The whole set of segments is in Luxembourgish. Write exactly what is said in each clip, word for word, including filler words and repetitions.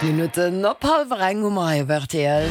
Aacht Minutten op hallwer eng hu mer hei op rtl.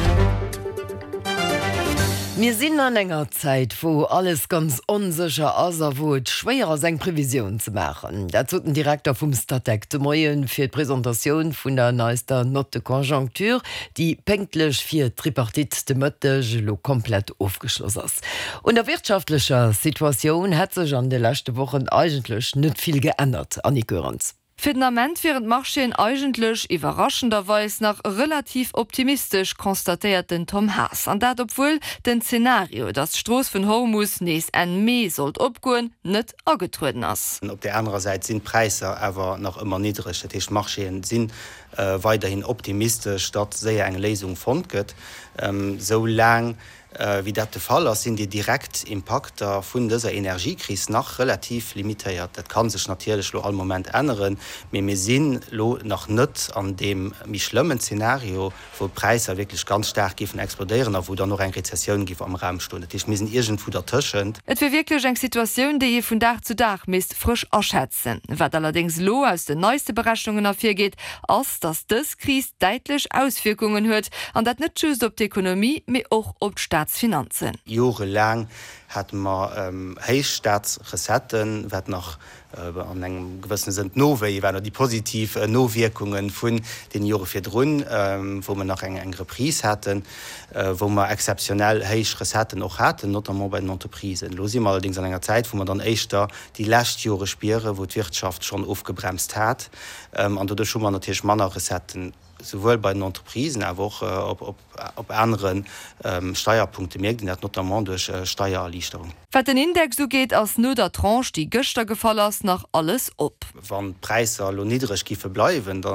Mir sinn an enger Zäit, wou alles ganz onsécher ass a wou et schwéier ass, eng Previsioun ze maachen. Dat sot den Direkter vum Statec de Moien fir d'Presentatioun vun der neister Note de conjoncture, déi pénktlech fir d'Tripartite de Mëtteg elo komplett ofgeschloss ass. Un der wirtschaftlecher Situatioun hätt sech an de leschte Wochen eigentlech net vill geännert, Annick Goerens. Fir den Ament wieren d'Marchéen eigentlech iwwerraschenderweis nach relativ optimistesch, constatéiert den Tom Haas. An dat obwuel den Zenario, datt d'Strooss vun Hormus nees Enn Mee sollt opgoen, net agetrueden ass. Op där anerer Säit sinn d'Präisser awer nach ëmmer niddreg. Dat heescht, d'Marchéen si weiderhin optimistesch, datt séier eng Léisung fonnt gëtt. Sou laang wéi dat de Fall ass, sinn déi direkt Impakter vun dëser Energiekris nach relativ limitéiert. Dat ka sech natierlech elo all Moment änneren, mee mir sinn elo nach net an deem méi schlëmmen Zenario, wou d'Präisser wierklech ganz staark géifen explodéieren a wou dann och eng Rezessioun géif am Raum stoen. Dat heescht, mir sinn iergendwou dertëschent. Et wier wierklech eng Situatioun, déi ee vun Dag zu Dag misst frësch aschätzen. Wat allerdéngs elo aus den neiste Berechnungen ervirgeet, ass, datt dës Kris däitlech Auswierkungen huet, an dat net just op d'Ekonomie, mee och op d'Staatsfinanzen. Jorelaang hate mer héich Staatsrecetten, wat nach an engem gewëssene Sënn d'Nowéie waren, oder déi positiv Nowierkunge vun deene Jore virdrun, wou mer nach eng Reprise haten, wou mer exzeptionell héich Recetten och haten, notamment bei den Entreprisen. Elo si mer allerdéngs an enger Zäit, wou mer dann éischter déi lescht Jore spieren, wou d'Wirtschaft schonn ofgebremst hat, an doduerch hu mer natierlech manner Recetten. Souwuel bei den Entreprisen, awer och op anere Steierpunkte mierkt een dat, notamment duerch Steiererliichterung. Wat den Index ugeet, ass no der Tranche, déi gëschter gefall ass, nach alles op. Wann d'Präisser elo niddreg giffe bleiwen, da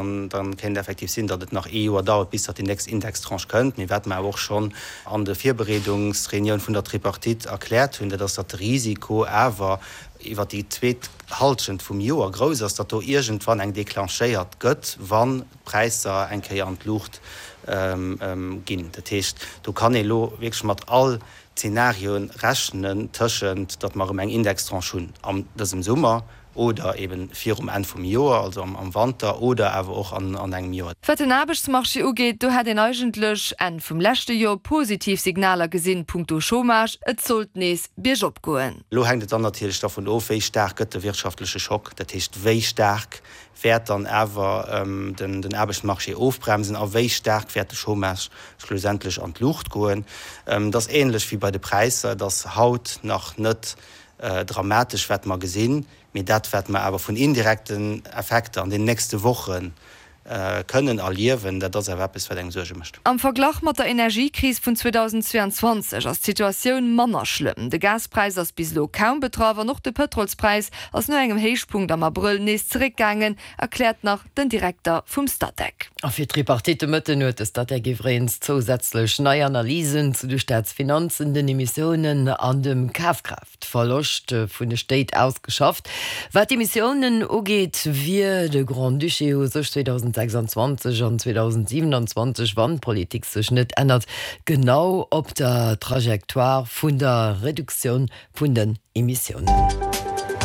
kéint effektiv sinn, datt et nach ee Joer dauert, bis datt déi nächst Indextranche kënnt. Mee wat mer awer och schonn an de Virbereedungsreunioun vun der Tripartite erkläert hunn, dat ass, datt de Risiko awer iwwert déi zweet Halschent vum Joer grouss ass, datt do iergendwann eng declenchéiert gëtt, wann d'Präisser eng Kéier an d'Luucht ginn. Dat heescht, do kann ee lo wierklech mat all Zenarioen rechnen, tëschent datt mer erëm eng Indextranche hunn an dësem Summer oder eeben virum Enn vum Joer, also am Wanter, oder awer och an engem Joer. Wat den Aarbechtsmarché ugeet, do hätt een eigentlech Enn vum leschte Joer positiv Signaler gesinn, punkto Chômage, et sollt nees biergop goen. Elo hänkt et dann natierlech dervun of, wéi staark gëtt de wirtschaftleche Schock, dat heescht, wéi staark wäert dann awer den Aarbechtsmarché ofbremsen a wéi staark wäert de Chômage schlussendlech an d'Luucht goen. Et ass änlech wéi bei de Präisser, et ass haut nach net dramatesch, wat mer gesinn, mee dat, wat mer awer vun indirekten Effekter an den nächste Woche kënnen erliewen, dat ass awer eppes, wat engem Suerge mécht. Am Verglach mat der Energiekris vun zweedausendzweeanzwanzeg ass d'Situatioun manner schlëmm. De Gaspräis ass bis elo kaum betraff an och de Pëtrolspräis ass no engem Héichpunkt am Abrëll nees zeréckgaangen, erkläert nach den Direkter vum Statec. A fir d'Tripartite de Mëtten huet de Statec iwwregens zousätzlech nei Analysen zu de Staatsfinanzen, den Emissiounen an dem Kafkraaftverloscht vun de Stéit ausgeschafft. Wat d'Emissiounen ugeet, wier de Grand-Duché u sech zweedausendsechsanzwanzeg an zweedausendsiewenanzwanzeg, wann d'Politik sech net ännert, genau op der Trajectoire vun der Reduktioun vun den Emissiounen.